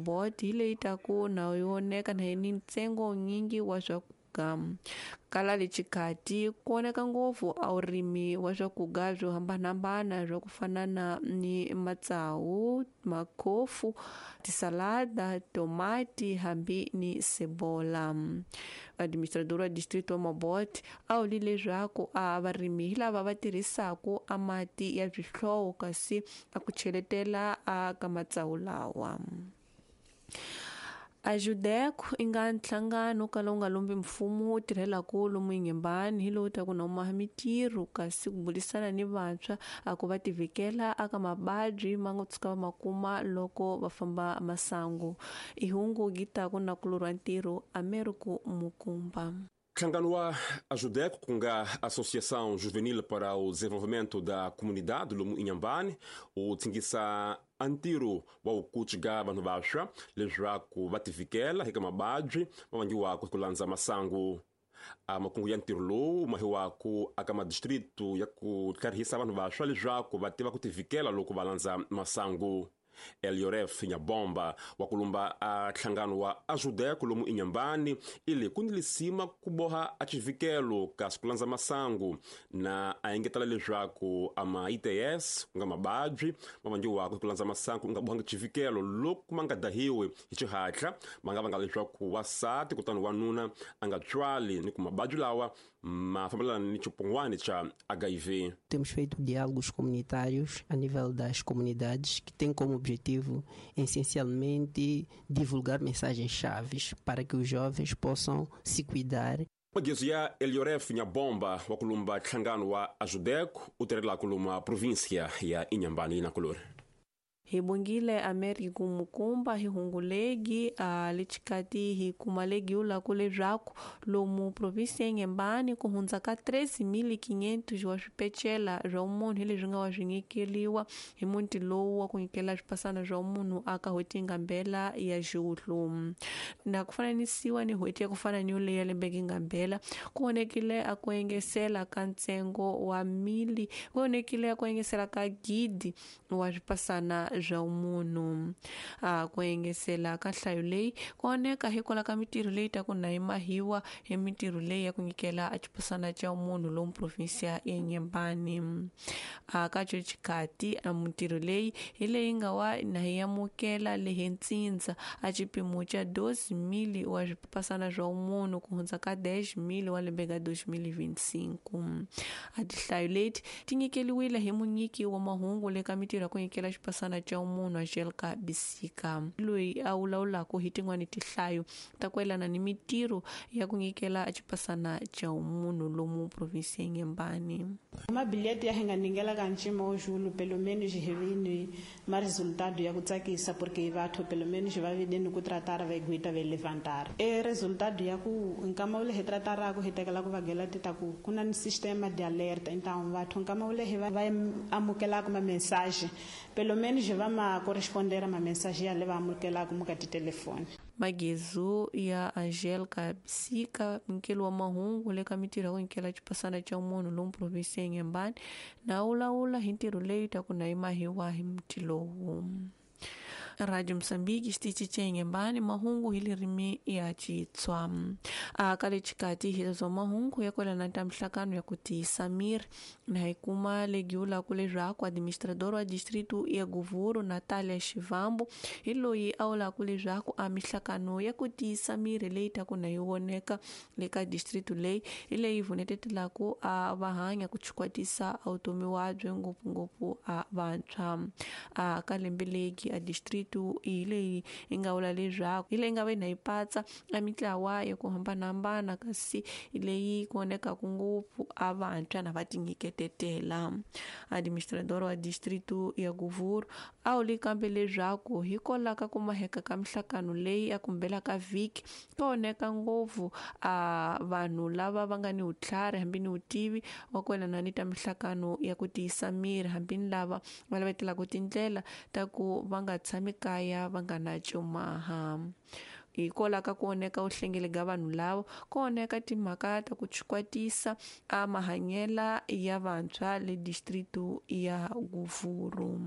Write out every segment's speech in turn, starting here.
Mabote hi leyi taku na yi oneka na ni ntsengo nyingi wa swakudya kala le xikati ku oneka ngopfu a vurimi wa swakudya byo hambanahambana swa ku fana na ni matsawu, makhofu, tisalada, tomati hambi ni sebola. Administrador wa distrito wa Mabote a vule leswaku a varimi hi lava va tirhisaku a mati ya swihlovo kasi a ku cheletela a ka matsawu lawa. Ajudeco i nga nhlangano ka lowu nga lombi mfumo wu tirhelaku lomu Inhambane hi lowu taku na maha mitirho kasi ku burisana ni vantshwa a ku va tivhikela aka mababyi ma nga tshuka va ma kuma loko va famba masangu. I hungu gitaku na kulorwa ntirho Americo Mukumba. Nhlangano wa Ajudeco, ku nga Associação Juvenil para o Desenvolvimento da Comunidade lomu Inhambane, wu tsingisa a ntirho wa ku kucika vanhu vantshwa leswaku va tivikela eka mababyi ma vangiwaka hi ku landza masangu. A makungu ya ntirho lowu mahiwaku aka madistritu ya ku tlharihisa vanhu vantshwa leswaku va tiva ku tivikela loko va landza masangu. Elioref Nyabomba wa kulumba a nhlangano wa Ajudeco lomu Inhambane ili ku ni lisima ku boha a xivikelo kasi ku landza masangu na a engetela leswaku ama ITS ku nga mababyi ma vangiwaka hi ku landza masangu nga bohanga xivikelo loko ma nga dahiwi hi xihatla ma nga vanga leswaku wasati kutani wanuna a nga tswali ni ku mababyi lawa ma fambelana ni xipongwani xa HIV. Temos feito diálogos comunitários a nível das comunidades que têm como objetivo essencialmente divulgar mensagens-chaves para que os jovens possam se cuidar. Magezo ya Elioref Nyabomba wa kulumba nhlangano wa Ajudeco u tirhelaka lomu província ya Inhambane na kulori. Hi bongile Americo Mukumba hi hungu legi a le xikati hi kuma legi ulaku leswaku lomu província ya Inhambane ku hundza ka 13.500 wa swipecela swa munhu hi leswi nga wa swi nyikeliwa hi muti lowu wa ku nyikela swipasana swa munhu aka n'hweti yi nga mbela ya Juhlu. Na ku fananisiwa ni n'hweti ya ku fana ni yoleyo ya lembe yi nga mbela ku vonekile a ku engesela ka ntsengo wa mili ku vonekile a ku engesela ka gidi wa swipasana swa munhu. A ku engesela ka nhlayo leyi ku oneka hikwalaho ka mitirho leyi taku na yi mahiwa hi mitirho leyi ya ku nyikela a xipasana xa munhu lomu província ya Inhambane. A ka xo xikati a mitirho leyi hi leyi nga wa na yi amukela lehi ntsindza a xipimo xa 12,000 wa swipasana swa munhu ku hundza ka 10,000 wa lembe ka 2025. A tinhlayo leti ti nyikeliwile hi munyiki wa mahungu le ka mitirho ya ku nyikela xipasana xa munhu Angelica Bisika loyi a vulavulaka hi tin'wani tinhlayo ta ku yelana ni mitirho ya ku nyikela xipasana xa munhu lomu província ya Inhambane. Mabilhete ya hi nga ningela ka ncima wo julu pelo menos hi vini ma resultado ya ku tsakisa porque vathu pelo menos va videni ku tratar va guita va levantar. E resultado ya ku nkama wu le hi trataraka hi tekela ku vagela ti ta ku ku na ni sistema de alerta, então vathu nkama wu le hi va amukelaka ma mensagem pelo menos va ma correspondera ma mensagem ya le va amukelaka mu ka titelefoni. Magezu ya Angelica Bisika munyikeli wa mahungu le ka mitirho ya ku nyikela xipasana xa munhu lomu província ya Inhambane na wulawula hi ntirho leyi taku na yi mahiwa hi muti lowu. Radio Mozambique xitichi xa Inhambane mahungu hi ririmi ya Xitswa. A ka le xikati hi leswa mahungu ya kwelana ta mihlangano ya ku tiyisa miri na hi kuma legi vulaku leswaku administrador wa distrito ya Govuro Natalia Xivambu hi loyi a vulaku leswaku a mihlangano ya ku tiyisa miri leyi taku na yi voneka le ka distrito leyi hi leyi vunetetelaku a va hanya ku chikwatisa a vutomi wabyo ngopfungopfu a vantshwa. A ka lembe legi a distrito hi leyi yi nga vula leswaku hi leyi nga ve na yi patsa a mitlawa ya ku hambanahambana kasi leyi ku vonekaku ngopfu a vantshwa na va tinyiketetela. Administrador wa distrito ya Govuro a wuli kambe leswaku hikwalaho ka ku maheka ka mihlangano leyi ya kumbela ka vhiki ku oneka ngopfu a vanhu lava va nga ni vutlhari hambi ni vutivi wa ku yelana ni ta mihlangano ya ku tiyisa miri hambi ni lava va lavetelaka tindlela ta ku va nga tshami kaya va nga na cumaha. Hikwalaho ka ku oneka vuhlengeli ka vanhu lava ku oneka timhaka ta ku chikwatisa a mahanyela ya vantshwa le distrito ya Govuro.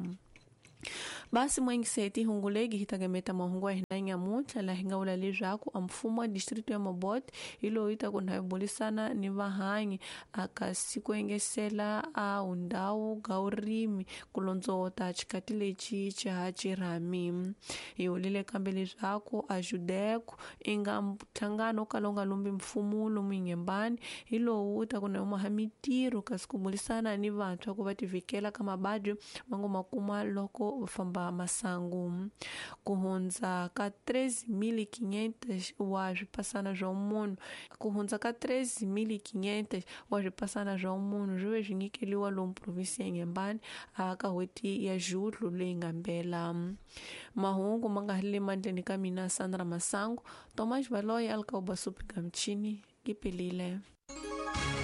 Basi mwengiseti hungulegi hi tagemeta mahungu ya hina nyamuntlha laha hi nga vula leswaku a mfumo wa distrito ya Mabote hi lowu yi ta ku na bulisana ni vahanyi aka siku engesela a undhawu ga urimi ku londzota xikati lexi xa xirhami. Hi vulile kambe leswaku a Judeko i nga nhlangano wo kala wu nga lumbi mfumo lomu Inhambane hi lowu wu ta ku na maha mitirho kasi ku bulisana ni vantshwa ku va tivhikela ka mavabyi va ngo ma kuma loko va famba masangu. Ku hundza ka 3500 wa swipasana swa munhu ku hundza ka 3500 wa swipasana swa munhu swi ve swi nyikeliwa lomu provinsi ya Inhambane aka n'hweti ya Julho leyi nga mbela. Mahungu ma nga le mandleni ka mina Sandra Masangu, Thomas Valoyi a li ka Ubasupi ka michini, yi pelile.